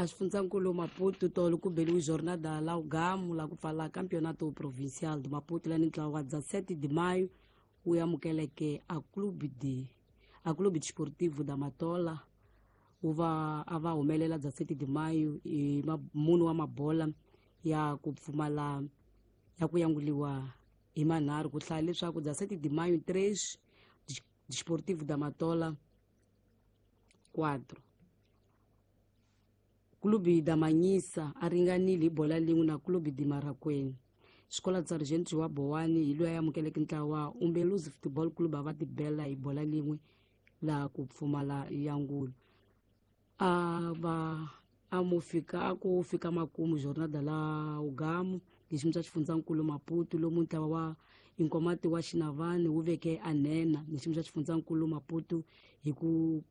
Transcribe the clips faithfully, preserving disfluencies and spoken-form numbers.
A xifundzankulu Maputo tolo ku beliwe jornada la ugamu la ku pfala Campeonato Provincial de Maputo lani ntlawa wa dezessete de maio wu amukeleke a Clube de a Clube Desportivo da Matola wu va a va humelela dezessete de maio i mune wa mabola ya ku pfumala ya ku yanguliwa hi manharhu ku hlaya leswaku dezessete de maio três Desportivo da Matola quatro. Clube da Manhissa a ringanile hi bola lin'we na Clube de Marracuene. Xikola Sargento wa Bowani hi loyi a amukeleke ntlawa Umbeluzi Football Club a va tibela hi bola lin'we laha ku pfumala yangulo. A va a mu fika a ku fika makumu jornada la ugamu hi xiyimo xa xifundzankulu Maputo lomu ntlawa wa Inkomati wa Xinavani wu veke a nhenha hi xiyimo xa xifundzankulu Maputo hi ku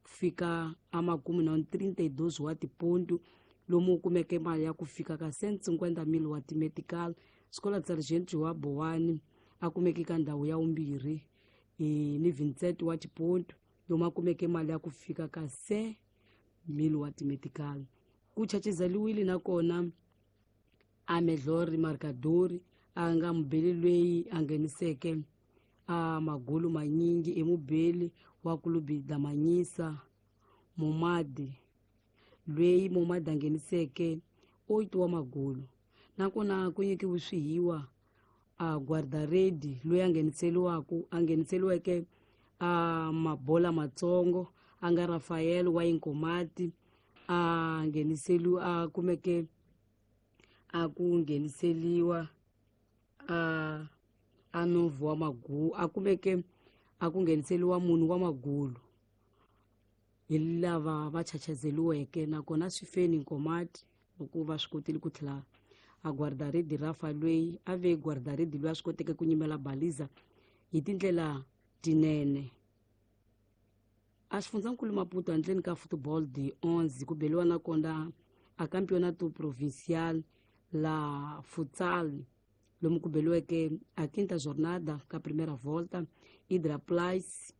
fika a makumu na trinta e dois wa tiponto lomu kumeke mali ya ku fika ka cento e cinquenta mil wa timetical. Xikola Sargento wa Bowani a kumeke ka ndhawu ya vumbirhi ni Vincent wa tiponto lomu a kumeke mali ya ku fika ka cem mil wa timetical. Ku chachizeliwile nakona a Melhor Marcador a nga mubeli loyi a ngheniseke a magulu manyingi emubeli wa Clube da Manhissa Momadi loyi Momadi a ngheniseke oito wa magulu. Nakona ku nyikiwe swihiwa a guarda-rede loyi a ngheniseliwaku a ngheniseliweke a mabola matsongo a nga Rafael wa Inkomati a ngheniseliwa a kumeke a ku ngheniseliwa a a novo wa magulu a kumeke a ku ngheniseliwa munhu wa magulu hi lava va chachazeliweke. Nakona swi feni Nkomati loko va swi kotile ku tlhela a guarda-rede Rafa loyi a ve guarda-rede loyi a swi koteke ku nyimela baliza hi tindlela tinene. A xifundzankulu Maputo handleni ka football de onze ku beliwa nakona a Campeonato Provincial la futsal lomu ku beliweke a quinta jornada ka primeira volta. Hidra Place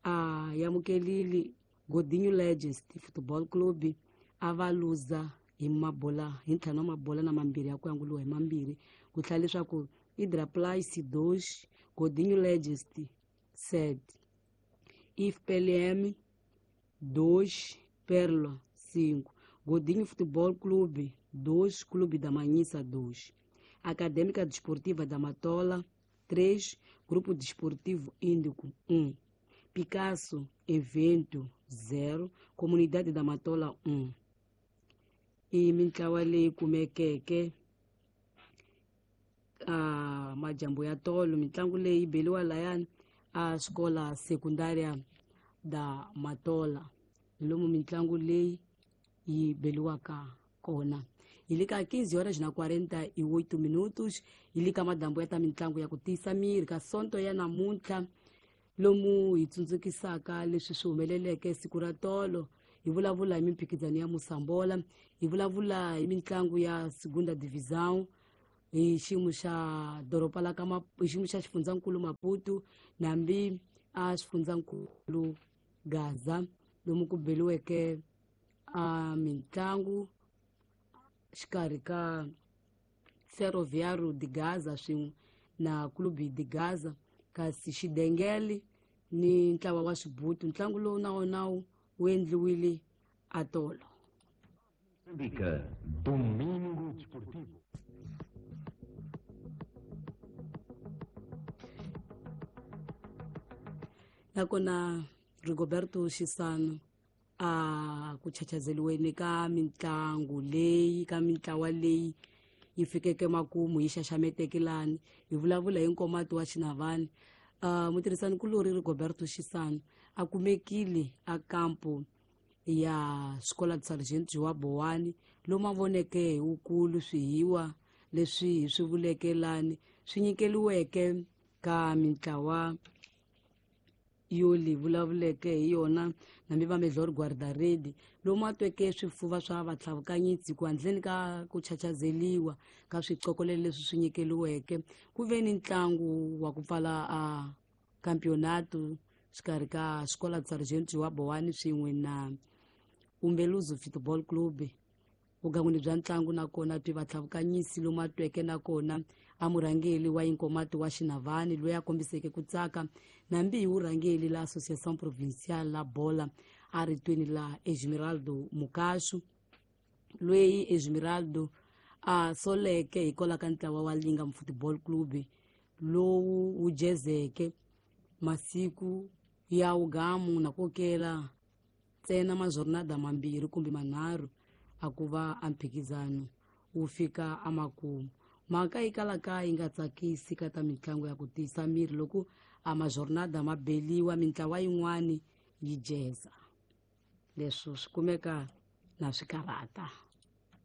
a amukelile Godinho Legends Football Club a va luza hi mabola hi ntlhanu wa mabola na mambirhi ya ku yanguliwa hi mambirhi ku tlhela leswaku Hidra Place dois Godinho Legends sete, I F P L M dois Perla cinco, Godinho Futebol Clube dois Clube da Manhissa dois, Acadêmica Desportiva da Matola três, Grupo Desportivo Índico um, Picasso Evento zero, Comunidade da Matola um. I mintlawa leyi kumekeke a majambo ya tolo mitlangu leyi beliwa layani a xikola secundária da Matola lomu mitlangu leyi yi beliwaka kona. Hi le ka quinze horas na quarenta e oito minutos hi le ka madambo ya ta mitlangu ya ku tiyisa miri ka sonto ya namuntlha lomu hi tsundzukisaka leswi swi humeleleke siku ra tolo. Hi vulavula hi mimphikizano ya Mosambola, hi vulavula hi mitlangu ya Segunda Divisão hi xiyimo xa doroba la ka hi xiyimo xa xifundzankulu Maputo nambi a xifundzankulu Gaza lomu ku beliweke a mitlangu xikarhi ka Ferroviário de Gaza swin'we na Clube de Gaza kasi Xidengele ni ntlawa wa Xibutu. Ntlangu lowu na wona wu endliwile atolo. Domingo Desportivo. Nakona Rigoberto Xisano a ku chachazeliweni ka mitlangu leyi ka mintlawa leyi yi fikeke makumu yi xaxameteke lani hi vulavula hi Nkomati wa Xinavani. Uh, mutirhisanikulori Rigoberto Xisano a kumekile a kampo ya Escola de Sargento wa Bowani lomu a voneke hi wukulu swihiwa leswi hi swi vuleke lani swi nyikeliweke ka mintlawa yo leyi vulavuleke hi yona nambi va Melhor Guarda-rede lomu a tweke swifuva swa vatlhavukanyisi ku handleni ka ku chachazeliwa ka swicokolelo leswi swi nyikeliweke ku ve ni ntlangu wa ku pfala a campeonato xikarhi ka Escola de Sargento wa Bowani swin'we na Umbeluzi Football Club Vugangwini bya ntlangu nakona twi vatlhavukanyisi lomu a tweke nakona a murhangeli wa Inkomati wa Xinavani loyi a kombiseke ku tsaka nambi hi vurhangeli la Associação Provincial la Bola a ritweni la Esmeraldo Mukashu, loyi Esmeraldo a soleke hikwalaho ka ntlawa wa Lingam Football Club lowu wu jezeke masiku ya wugamu na kokela ntsena majornada mambirhi kumbe manharhu a ku va a mphikizano wu fika emakumu. Mhaka yi kalaka yi nga tsakisi ka ta mitlangu ya ku tiyisa miri loko a majornada ma beliwa mintlawa yin'wani yi jeza. Leswi swi kumeka na swi karhata.